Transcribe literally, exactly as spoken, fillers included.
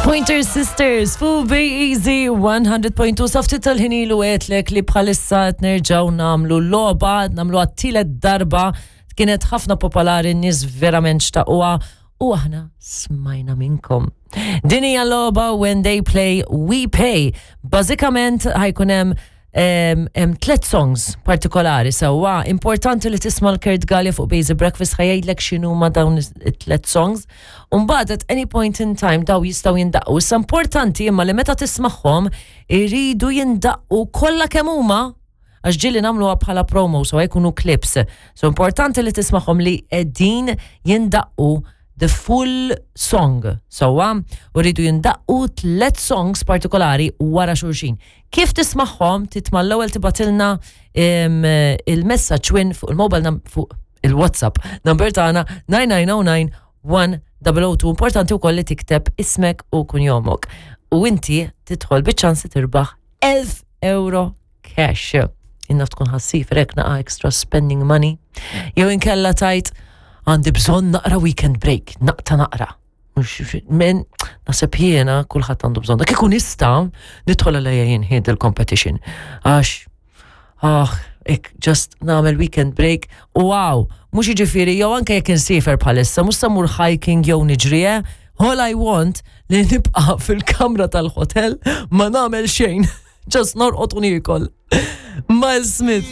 Pointer Sisters, fuq Easy one hundred point two. Sa ftit tal-ħin ilu għedtlek li bħalissa qed nerġgħu nagħmlu logħba, nagħmlu għat-tielet darba, kienet ħafna popolari, n-nies verament xtaquha u aħna smajna minnkom. Din hija logħba "When They Play, We Pay". Bażikament ħa jkun hemm hemm tlet songs partikolari sewwa. Importanti li tisma' l-Kurt Gallia fuq Basic Breakfast, ħa jgħidlek x'inhuma dawn it-tlet songs. Umbagħad at any point in time daw jistgħu jindaqqu. Issa importanti imma li meta tismagħhom iridu jindaqqu kollha kemm huma, għax ġieli nagħmluha bħala promo, so jkunu clips. So importanti li tismagħhom li qegħdin jindaqqu the full song. Sewwa, u rridu jindaqqu tlet songs partikolari wara xulxin. Kif tismagħhom, titma' l-ewwel tibgħatilna il-messaġġ win fuq il-mobile num fuq il-WhatsApp number tagħna nine nine zero nine one zero zero two. Importanti wkoll li tikteb ismek u kunjomok. U inti tidħol biċ-ċans tirbaħ elf euro cash. Inna tkun ħassif rek naqa extra spending money. Jew inkella tajt għandi bżonn naqra weekend break, naqta naqra. Mux, men, naħseb jiena kulħadd għandu bżonn. Kieku nista' nidħol għalija jien il-competition. Għax, ah, ik, just nagħmel weekend break, wow, mhux jiġifieri, jew anke jekk insiefer bħalissa, mhux sa mmur hiking jew niġri, eh? All I want li nibqa' fil-kamra tal-hotel ma nagħmel xejn. Just norqod u niekol. Miles Smith.